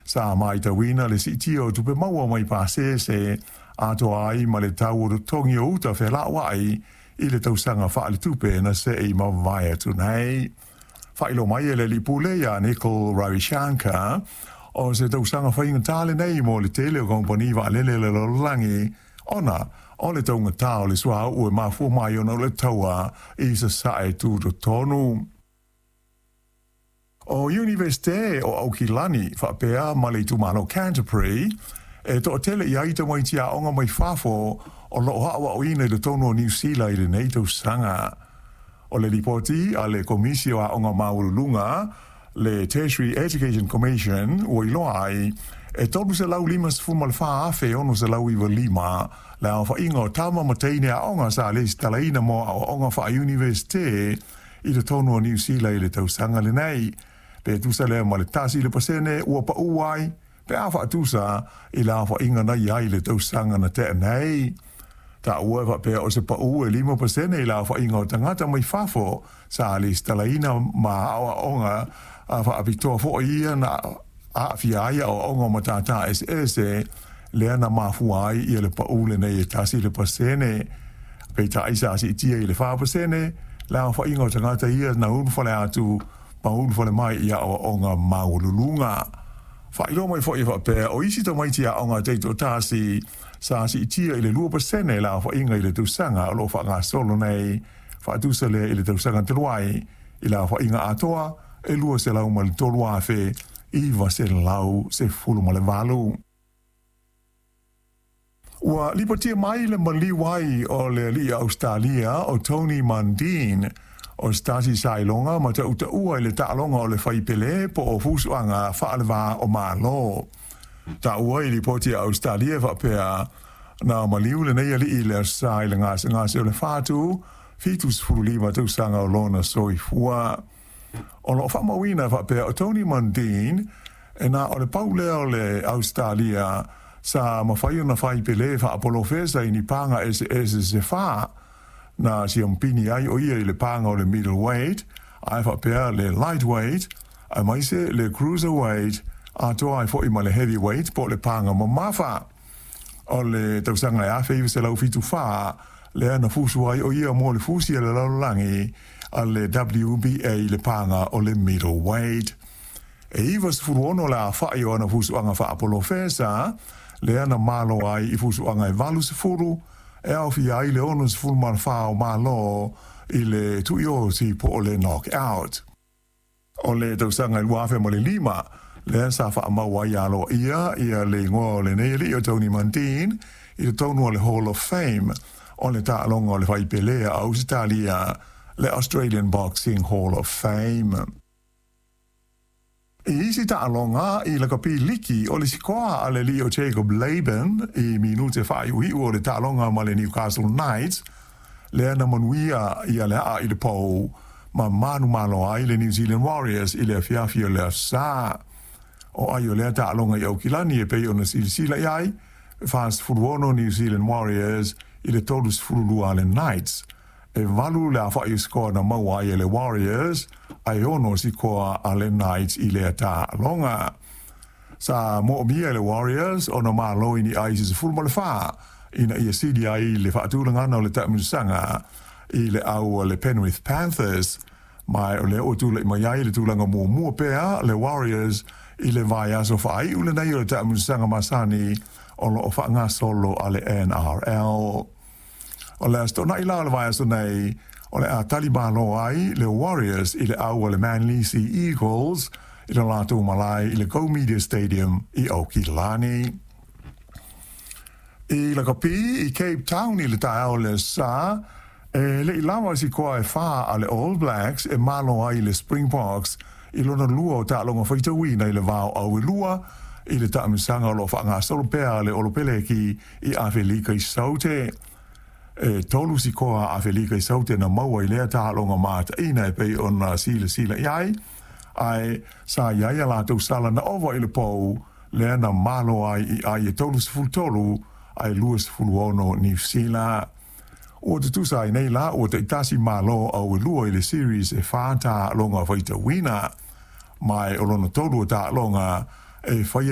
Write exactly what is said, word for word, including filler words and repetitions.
Sa matauina le siitia o tupe maua mai pasese atoa ai ma le tau o totogi o uta felauai i le tausaga faaletupe na se i mavae atu nei. Faailoa mai e le alii pule ia Nicole Ravishankar, o se tausaga faigata lenei mo le tele o kamupani vaalele a le lalolagi ona o le taugata o le suauu e mafua mai ona o le taua i sasae tutotonu. O Iunivesite o Aukilani faapea ma le itumalo Canterbury e toatele i ai tamaiti aoga mai fafo o loo aoaoina i totonu o Niu Sila i lenei tausaga. O le lipoti a le Komisi o Aoga Maualuluga, le Tertiary Education Commission, ua iloa ai e tolu selau limasefulu ma le fa afe ono selau iva lima le aofaiga o tama ma teine aoga sa lesitalaina mo aoaoga faa-iunivesite i totonu o Niu Sila i le tausaga lenei, pe tusa lea ma le tasi le pasene ua pau ai pe a faatusa i le aofaiga na i ai i le tausaga na tea nei. Taua e faapea o se pau e lima pasene i le aofaiga o tagata mai fafo sa lesitalaina ma aoaoga faapitoa foi ia na aafia ai aoaoga o matata eseese lea na mafua ai ia le pau lenei e tasi le pasene. Peitai sa siitia i le fa pasene le aofaiga o tagata ia na ulufale atu ma ulufale mai i aoaoga maualuluga. Faailoa mai foi e faapea o isi tamaiti aoga taitoatasi sa siitia i le lua pasene le aofaiga i le tausaga o loo faagasolo nei, faatusa lea i le tausaga talu ai i le aofaiga atoa e lua selau ma le tolu afe iva selau sefulu ma le valu. Ua lipotia mai le maliu ai o le alii Ausetalia o Tony Mundine, o se tasi sa iloga ma tautaua i le taaloga o le faipele po o fusuaga faaleva o Malo. Taua i lipoti a Ausetalia e faapea na maliu lenei alii i le Aso Sa i le gasegase o le fatu fitu sefulu lima tausaga o lona soifua. O loo faamauina faapea o Tony Mundine e na o le pau lea o le Ausetalia sa mafai ona fai pele faapolofesa i ni paga eseese se fa. Na siampini ai o ia i le paga o le middleweight ae faapea le lightweight aemaise le cruiserweight atoa ai foi ma le heavyweight po o le paga mamafa. O le tausaga e afe iva selau fitu fa lea na fusu ai o ia mo le fusi a le lalolagi a le W B A i le paga o le middleweight. E iva sefulu ono le afa'i o ana fusuaga faapolofesa lea na malo ai i fusuaga e valu sefulu e aofia ai le ono sefulu ma le fa o malo i le tuioti po o le knockout. O le tausaga i lua afe ma le lima lea sa faamau ai aloaia ia le igoa o lenei alii o Tony Mundine i totonu o le Hall of Fame o le taaloga o le faipelea a Ausetalia, le Australian Boxing Hall of Fame. I isi taaloga i lakapi liki o le sikoa a le alii o Jacob Laban i minute faaiuiu o le taaloga ma le Newcastle Knights lea na manuia ia le aa i le pou ma manumalo ai le New Zealand Warriors i le afiafi o le Aso Sa. O ai o lea taaloga i Aukilani e pei ona silasila i ai, e fa sefulu ono New Zealand Warriors i le tolu sefulu lua a le Knights. E valu le afa'i o sikoa na maua ai e le Warriors, ae ono sikoa a le Knights i lea taaloga. Sa moomia e le Warriors ona malo i ni ai se sefulu ma le fa ina ia sili ai le faatulagana o le taamilosaga i le au a le Penrith Panthers, ma o lea ua tula'i mai ai le tulaga muamua pea le Warriors i le vaiaso faaiu lenei o le taamilosaga masani o loo faagasolo a le N R L. O le aso toonai la o le vaiaso nei, o le a talimalo ai le Warriors i le au a le Manly Sea Eagles i le latou malae i le Go Media Stadium i Aukilani. I lakapi i Cape Town i le taeao le Aso Sa, e le'i lava sikoa e fa a le All Blacks e malo ai le Springboks i lona lua o taaloga faitauina i le vao au e lua i le taamilosaga o loo faagasolo pea a le Olopeleki i Afelika i Saute. E tolu sikoa a Afelika i Saute na maua i lea taaloga mataina e pei ona silasila i ai, ae sa i ai a latou sala na ova i le pou lea na malo ai i ai e tolu sefulu tolu ae lua sefulu ono Niu Sila. Ua tutusa ai nei la ua taitasi malo au e lua i le series e fa taaloga faitauina, ma o lona tolu o taaloga e faia